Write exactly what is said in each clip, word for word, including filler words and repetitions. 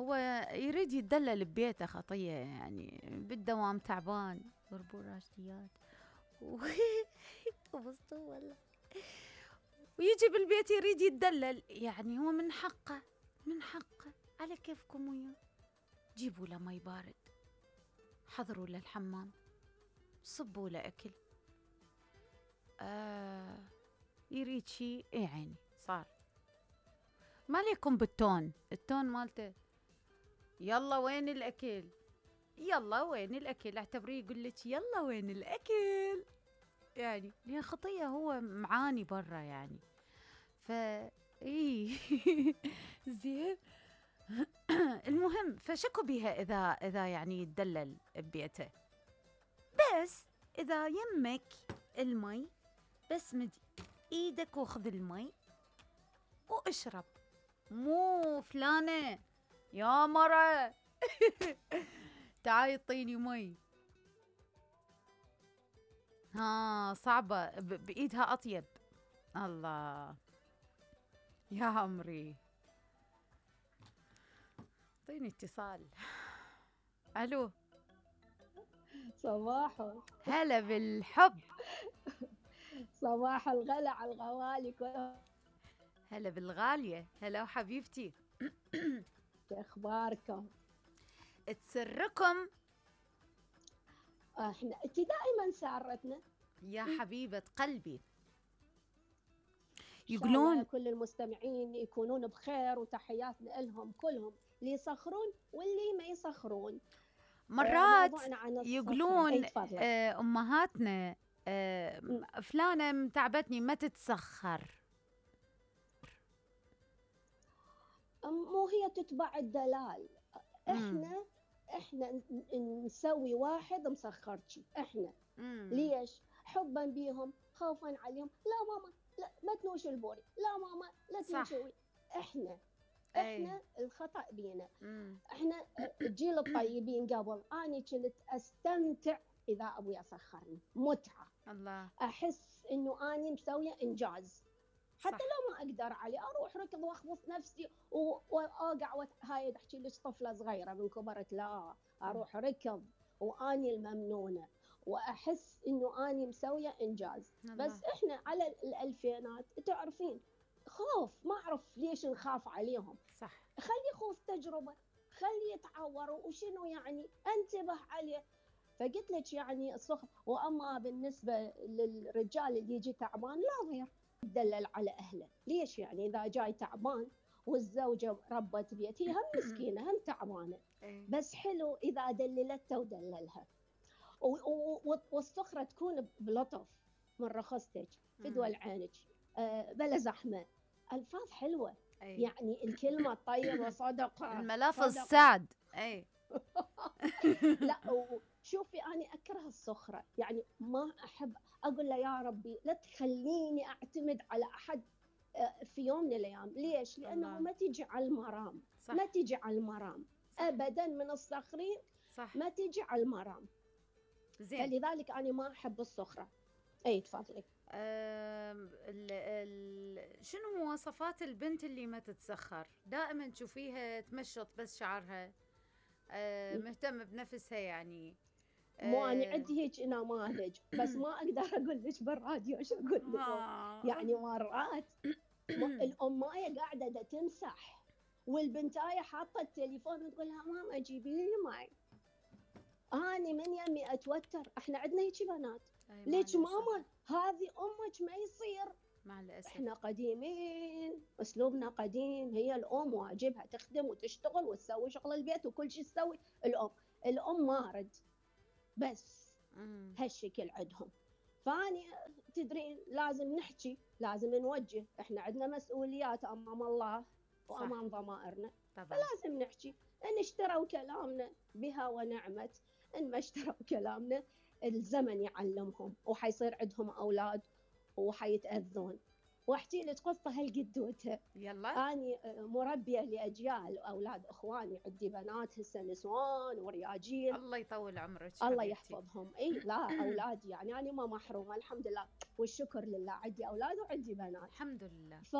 هو يريد يتدلل ببيته خطية يعني، بالدوام تعبان بربور راشديات وبسطوه والله، ويجي بالبيت يريد يتدلل، يعني هو من حقه من حقه على كيفكم وياه. جيبوا له مي بارد، حضروا له الحمام، صبوا له أكل. آه يريد شي اي عيني صار. ما عليكم بالتون، التون مالته يلا وين الأكل، يلا وين الأكل، اعتبريه يقول لك يلا وين الأكل، يعني لأن خطية هو معاني برا يعني. ف اي زين. المهم فشكوا بيها اذا اذا يعني يتدلل ببيته، بس اذا يمك المي بس مد ايدك وخذ المي واشرب، مو فلانة يا مرة تعالي اعطيني مي. ها صعبة، ب- بايدها اطيب. الله يا عمري. اعطيني اتصال. الو. صباحو. هلا بالحب. صباح الغلا على الغوالي كلهم. هلا بالغالية، هلا حبيبتي. شو اخباركم؟ تسركم احنا انت دائما سارتنا. يا حبيبة قلبي. ان شاء الله يقولون كل المستمعين يكونون بخير، وتحياتنا لهم كلهم، اللي يصخرون واللي ما يصخرون. آه، مرات موضوعنا عن الصخرة. اي يقولون تفضلي. آه، أمهاتنا آه، فلانة متعبتني ما تتسخر. مو هي تتبع الدلال. مم. احنا احنا ن- نسوي واحد مسخرتي احنا. مم. ليش؟ حبا بيهم، خوفا عليهم. لا ماما لا ما تنوش البوري، لا ماما لا صح. تنوشي. احنا أي. احنا الخطأ بينا. مم. احنا الجيل الطيبين قبل اني كنت استمتع اذا ابوي سخرني، متعة. الله. احس انه اني مسوية انجاز، حتى صح. لو ما اقدر عليه اروح ركض واخبط نفسي و- واوقع وت... هاي تحكي لك طفله صغيره من كبرت، لا اروح ركض واني الممنونه واحس انه اني مسويه انجاز. الله. بس احنا على الالفينات تعرفين خوف، ما اعرف ليش نخاف عليهم. صح. خلي خوف تجربه، خلي يتعور وشنو يعني انتبه عليه. فقلت لك يعني الصخر. واما بالنسبه للرجال اللي يجي تعبان لا غير يدلل على اهله. ليش يعني اذا جاي تعبان والزوجه ربت بيت، هي هم مسكينه هم تعبانه، أي. بس حلو اذا دللته ودللها. والصخره تكون بلطف من رخصتك، فدوى عينك، أه بلا زحمه، الفاظ حلوه. أي. يعني الكلمه الطيبه صدقه الملافظ صدقه. سعد. أي. لا شوفي أنا أكره الصخرة، يعني ما أحب أقول له يا ربي لا تخليني أعتمد على أحد في يوم من الأيام. ليش؟ لأنه الله. ما تيجي على المرام. صح. ما تيجي على المرام صح. أبدا من الصخرين. صح. ما تيجي على المرام. زين. فلذلك أنا ما أحب الصخرة. أي تفضلي. أم، ال ال شنو مواصفات البنت اللي ما تتسخر؟ دائما تشوفيها تمشط بس شعرها، أه، مهتمة بنفسها يعني. مو أنا أه. عندي هيك نماذج، بس ما أقدر أقول لك بالراديو شو أقول لكم. يعني مرات الأماية قاعدة دا تمسح والبنتاية حاطة التليفون وتقول لها ماما جيبي لي ماي. أنا من يمي أتوتر. إحنا عندنا هيك بنات. ليش ماما هذه أمك ما يصير. مع الأسف إحنا قديمين، أسلوبنا قديم. هي الأم واجبها تخدم وتشتغل وتسوي شغل البيت وكل شيء تسوي الأم. الأم مارد بس هالشكل عندهم. فاني تدرين لازم نحكي، لازم نوجه. احنا عندنا مسؤوليات امام الله وامام ضمائرنا، فلازم نحكي. ان اشتروا كلامنا بها ونعمت، ان ما اشتروا كلامنا الزمن يعلمهم وحيصير عندهم اولاد وحيتاذون. واحكي لك قصه هالقدوته. يلا. اني مربيه لاجيال اولاد اخواني، عندي بنات هسه نسوان ورياجيل. الله يطول عمرك الله يحفظهم. اي لا اولادي يعني انا ما محرومه الحمد لله والشكر لله. عندي اولاد وعندي بنات الحمد لله. ف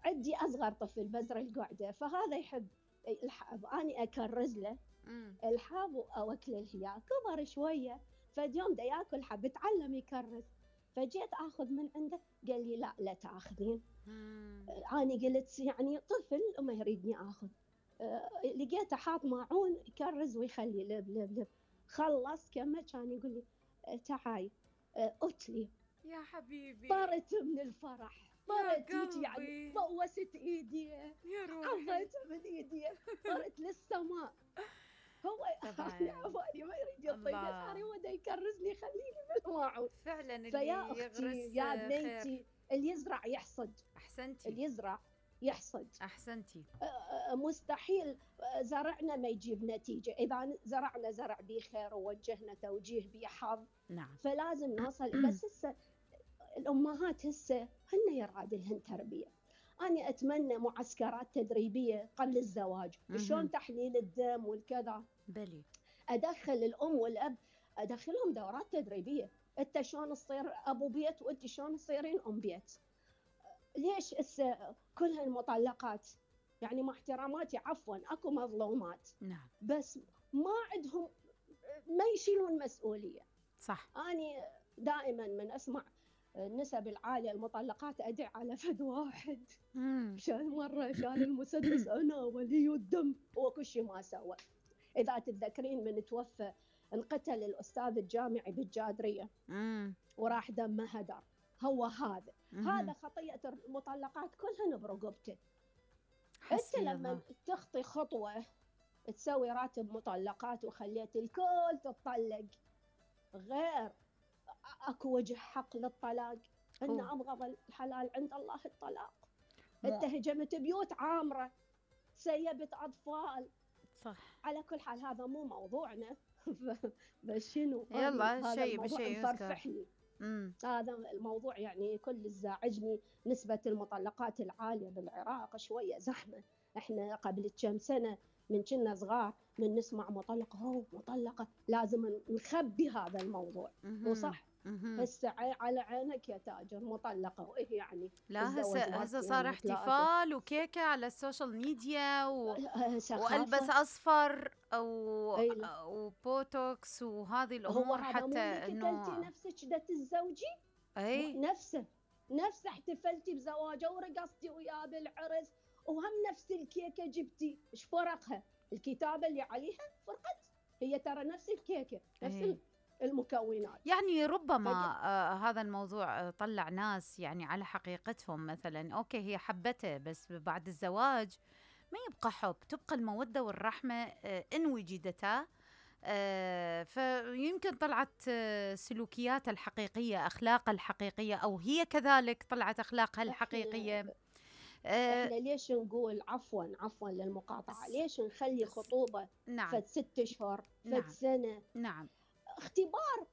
عندي اصغر طفل بزر القعده، فهذا يحب الحب أنا أكرز له مم. الحب وأوكله إياه. كبر شوية فد يوم دا ياكل حب تعلم يكرز، فجيت آخذ من عنده قال لي لا لا تاخذين. أنا قلت يعني طفل ما يريدني آخذ. أه لقيته حاط ماعون يكرز ويخلي لب لب لب. خلص كمل كان يقول لي أه تعاي أه أتلي يا حبيبي. طرت من الفرح، طرت يعني بوست ايدي يا روحي، عضيت من ايدي، طرت للسماء. هو عفاني ما يريد يعطيني، صار هو دا يكرزني يخليني بالماعون فعلا. اللي فيا اختي يا بنيتي اللي يزرع يحصد. احسنتي. اللي يزرع يحصد. احسنتي. مستحيل زرعنا ما يجيب نتيجة. إذا زرعنا زرع بيه خير ووجهنا توجيه بيه حظ. نعم. فلازم نوصل. بس هسه الأمهات هسه هن يراد لهن تربية. أنا أتمنى معسكرات تدريبية قبل الزواج، شلون تحليل الدم والكذا. بلي. أدخل الأم والأب أدخلهم دورات تدريبية. أنت شلون تصير أبو بيت وأنت شلون تصيرين أم بيت. ليش هسه كل هالمطلقات يعني مع احتراماتي عفوا اكو مظلومات. نعم. بس ما عندهم ما يشيلون مسؤولية. صح. أنا دائما من أسمع النسب العالية المطلقات أدعي على فد واحد شال مرة شال المسدس أنا ولي الدم وكل شيء ما سوى. إذا تتذكرين من توفى انقتل الأستاذ الجامعي بالجادرية مم. وراح دمه هدر. هو هذا مم. هذا خطيئة المطلقات كلهن برقبته. أنت لما تخطي خطوة تسوي راتب مطلقات وخليت الكل تطلق، غير اكو وجه حق للطلاق. ان ابغض الحلال عند الله الطلاق. انت هجمت بيوت عامره، سيبت اطفال. صح. على كل حال هذا مو موضوعنا. بس شنو يلا شيء بشيء يفرحني. هذا الموضوع يعني كل زعجني. نسبه المطلقات العاليه بالعراق شويه زحمه. احنا قبل كم سنه من كنا صغار من نسمع مطلقة هو مطلقة لازم نخبي هذا الموضوع. وصح هسه على عينك يا تاجر مطلقة وإيه يعني. لا هسه هسه صار احتفال وكيكة على السوشيال ميديا و... والبس اصفر او وبوتوكس وهذه الامور حتى انه انت نفسك ده تتزوجي. اي نفسه نفسه احتفلتي بزواجه ورقصتي وياه بالعرس وهم نفس الكيكة جبتي. ايش فرقها؟ الكتابة اللي عليها فرقت. هي ترى نفس الكيكة نفس أيه. المكونات. يعني ربما آه هذا الموضوع طلع ناس يعني على حقيقتهم. مثلا اوكي هي حبته بس بعد الزواج ما يبقى حب، تبقى المودة والرحمة آه ان وجدتا. آه فيمكن طلعت آه سلوكياتها الحقيقية، أخلاقها الحقيقية، أو هي كذلك طلعت أخلاقها الحقيقية. احنا ليش نقول عفوا عفوا للمقاطعة، ليش نخلي خطوبة نعم. فد ست اشهر فد نعم. سنة. نعم. اختبار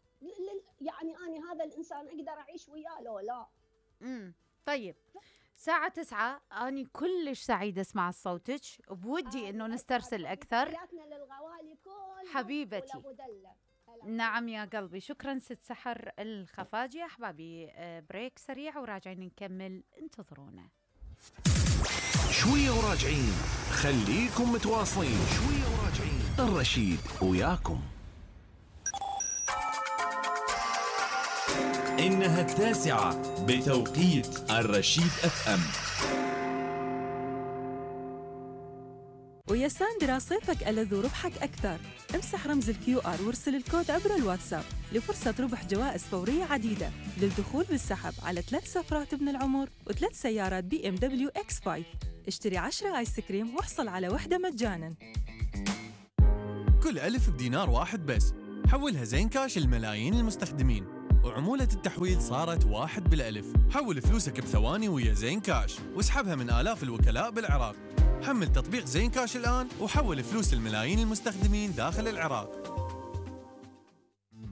يعني أنا هذا الإنسان أقدر أعيش وياه لو لا. امم طيب ساعة تسعة أنا كلش سعيدة أسمع صوتك، بودي آه إنه نسترسل أكثر. للغوالي كل حبيبتي. نعم يا قلبي. شكرا ست سحر الخفاجي. أحبابي بريك سريع وراجعين نكمل، انتظرونا. شوية وراجعين، خليكم متواصلين. شوية وراجعين، الرشيد وياكم. إنها التاسعة بتوقيت الرشيد اف ام. ويا ساندرا صيفك ألذ وربحك أكثر. امسح رمز الكيو آر وارسل الكود عبر الواتساب لفرصة ربح جوائز فورية عديدة للدخول بالسحب على ثلاث سفرات ابن العمر وثلاث سيارات بي ام دبليو اكس خمسة. اشتري عشرة آيس كريم واحصل على وحدة مجاناً. كل ألف بدينار واحد بس، حولها زين كاش لملايين المستخدمين، وعمولة التحويل صارت واحد بالألف. حول فلوسك بثواني ويا زين كاش واسحبها من آلاف الوكلاء بالعراق. حمل تطبيق زين كاش الآن وحول فلوس الملايين المستخدمين داخل العراق.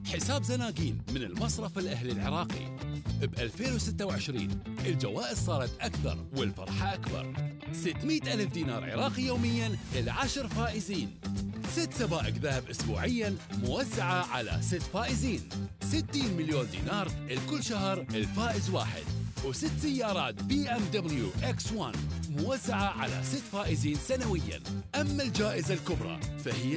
حساب زناقين من المصرف الأهلي العراقي. ب ألفين وستة وعشرين الجوائز صارت أكثر والفرحة أكبر. ستمئة ألف دينار عراقي يومياً للعشر فائزين. ست سبائك ذهب أسبوعياً موزعة على ست فائزين. ستين مليون دينار الكل شهر الفائز واحد. وست سيارات بي ام دبليو اكس واحد موزعة على ست فائزين سنويا. أما الجائزة الكبرى فهي